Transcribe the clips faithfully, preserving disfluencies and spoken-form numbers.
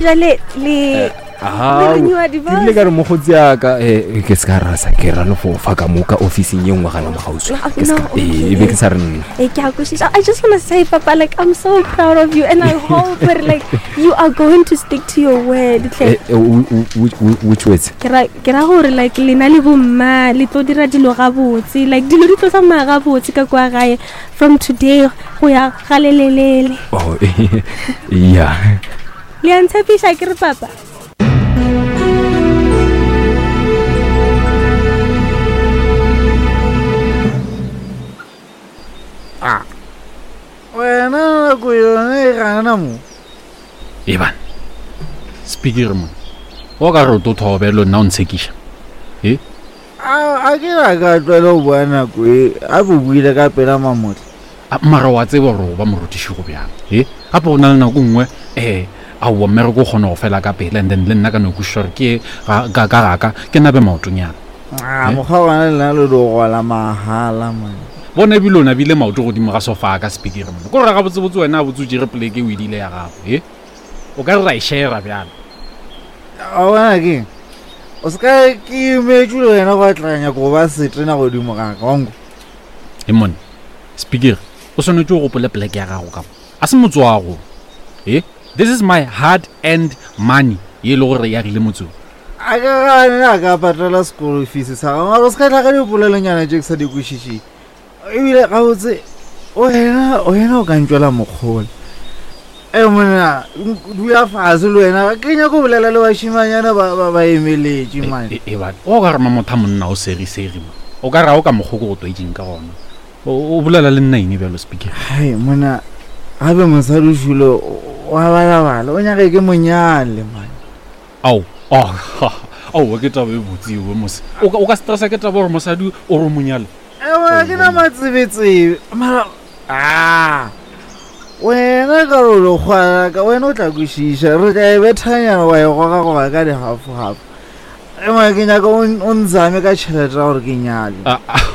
Jale le Ao, le renewa ke ile divorce. ka re mokgotsi yaka eh, ke se ka rasa ke ralofofa ka mo ka officing ye nngwe gana mogauswi Ah, Ke se no, ka- eh, e be ke sa re nna Eh, ke a kwešiša. I just want to say, Papa, like I'm so proud of you, and I hope that, like you are going to stick to your word. hle. Eh, eh, wh- wh- wh- which words Ke ra ke ra gore like lena le bomma le tlo dira dilo gabotse like dilo di tlo tsamaya gabotse ka kwa gae from today go ya galelelele oh yeah le a ntshepiša ke re papa Wena nako yone e gana mo. ebane speaker mone o ka re o tlo thobelo nna o ntshekiša e A a ke la ka tlwaela go bua nako e a bo buile ka pela mamotla. A, mara wa tseba gore o ba morutiši go bjang e gape go na le nako nngwe um aowa mmereko o kgona go fela ka pele and then le nna ka no kwešiša gore ke ga- ka ka gaka ke nabe maotonyana A mokgwa gona le nna le do gola mahala man. bona ebile o nabile maoto godimo ga sofa ka speaker mone ko gore gabotsebotse wena a botse o tšere poleke o edile ya gago e o ka re ra e shera bjalo A bona ke o se ka ke imetše le wena go atlanya go ba setena godimo ga ka wanko. e mone speaker o swanetše o gopole poleke ya gago ka mo a se motse wa go e this is my hard and money ye e le gore e agile motseng A ka gane a ka patela sekolo fees sa gago mara o se ka tla ka dipolelonyana tše ke sa di kwešišeng. Ebile gabotse wena wena o ka ntšwela mokgola. E monna dula fase le wena ke nyako go bolela le bašimanyana ba ba ba emeletše man. E- e bana o ka re mamotha monna o seriseri mo o ka re ga o ka mokgwa ko go twetseng ka gona o o bolela le nna eng bjalo speaker Hai monna gape mosadi o šule wa balabala o nyake ke monyale man. ao oh, aowa ke taba e botse eo mose o ka- o ka stressa ke taba gore mosadi o re o monyale Ewa ke na matsebetsebe mara a wena ka re o lekgwala ka wena o tla kwešiša re tla e bethanyana wa e goga goba ka dihafohafo ema ke nyaka o n- o nzame ka tšhelete ya gore ke nyale Ah, ah,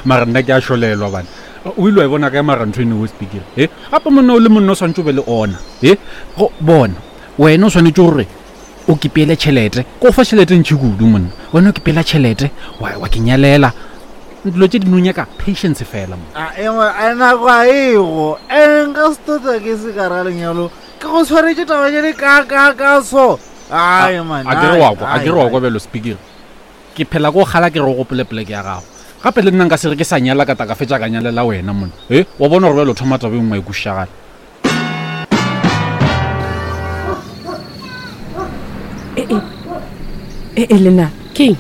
mara nna ke a šolelwa bana o ile wa e bona kae mara ntho ene o speaker e gape monna o le monna o swantse o be le ona e go bona wena o swanetse gore o kepeele tšhelete ko go fa tšhelete ntšhi kudu monna wena o kepeela tšhelete wa wa ke nyalela dilo tše di no nyaka patience fela mo A, engwe a nako a ego ene nka se tota ke se ka ra lenyalo ke go tshwaretse taba tše le ka ka ka so ai man a kere ai, wa kwa a ai, kere wa ai. kwa bjalo speaker ke phela ko kgala ke re o gopole poleke ya gago gape le nna nka se re ke sa nyala ka taka fetša ka nyalela wena monna e wa bona gore bjalo o thoma taba e nngwe e kwešišagale e e lena keng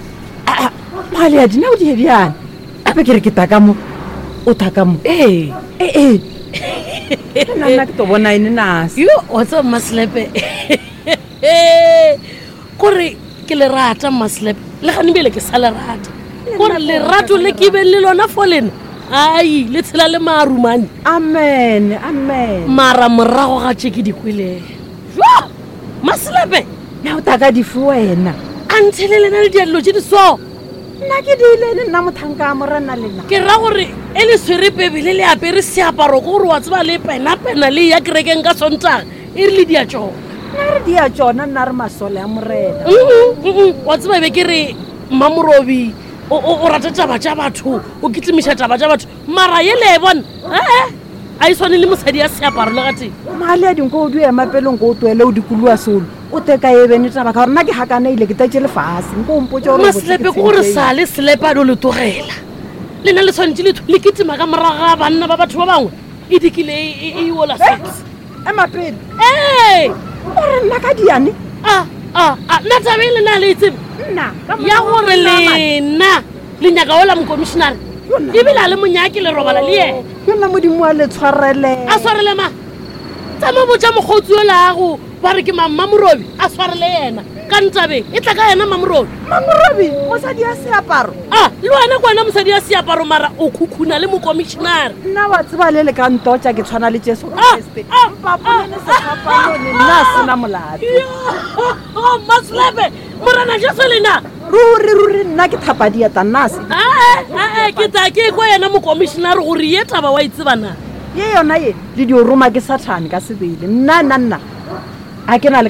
mogale ya dina o die bjana gape ke re ke taka mo o taka mo ee ee nna nna ke to bona ene nase yo wa tseba mmaselepe kore ke le rata mmaselepe le gane bele ke sa le rata kore lerato le ke beng le lona fo lena ai le tshela le maarumane amen amen mara morago ga tše ke di kweleng jo maselepe na o taka dife wena a nthele lena le dialelo tše di so nna ke diilene nna mothanka a morena lena ke ra gore e le swere pebele le apere seaparo ko gore wa tseba le penapena le ya kerekeng ka sontaga e re le dia tsona nna re dia tsona nna re masole a morena Mm-mm, mm-mm. wa tseba e be ke re mmamorobi o o- o rata taba tša batho o kitlemiša taba tša batho mara ye le e bona ee a e tshwane le mosadi ya seaparo le gateng mogale ya dinko o di ema pele nko o toele o dikoloa solo o teka e bene taba ka gore nna ke gakana ile ke tetse lefase nko o mpotse gore maselepe ke gore sa le selepe a do le tlogela le na le tshwanetse le le ketima ka morago ga banna ba batho ba bangwe e dikile e- e e ola six ema pele ee o re nna ka diane a a a nna tabe e lena le e tsebe nna ka ya mokgwa gore wa nna, lena le nyaka ola mokomišenare Yona. ebile a le monyake le robala le yena yo nna modimo wa le tshwarele a swarele ma tsama botja mokgotsi olago ba re ke mammamorobi a swarele yena ka ntabeng e tla ka yena mamorobi mamorobi mosadi ya seaparo a le wena ke wena mosadi ya seaparo mara o khukhuna le mokomišenare nna wa tseba le le ka ntotša ke tshwana le jesu Ah, kreste ah, mpapolene sefapano le nna a sena molato maslepe morena jesu lena ruri ruri nna ke thapa dieta nna a se ae ae ke tla ke kwa yena mokomišenare gore ye taba wa e tseba na ye yona ye le dio roma ke sathane ka sebele nna nna nna Ga ke na le ka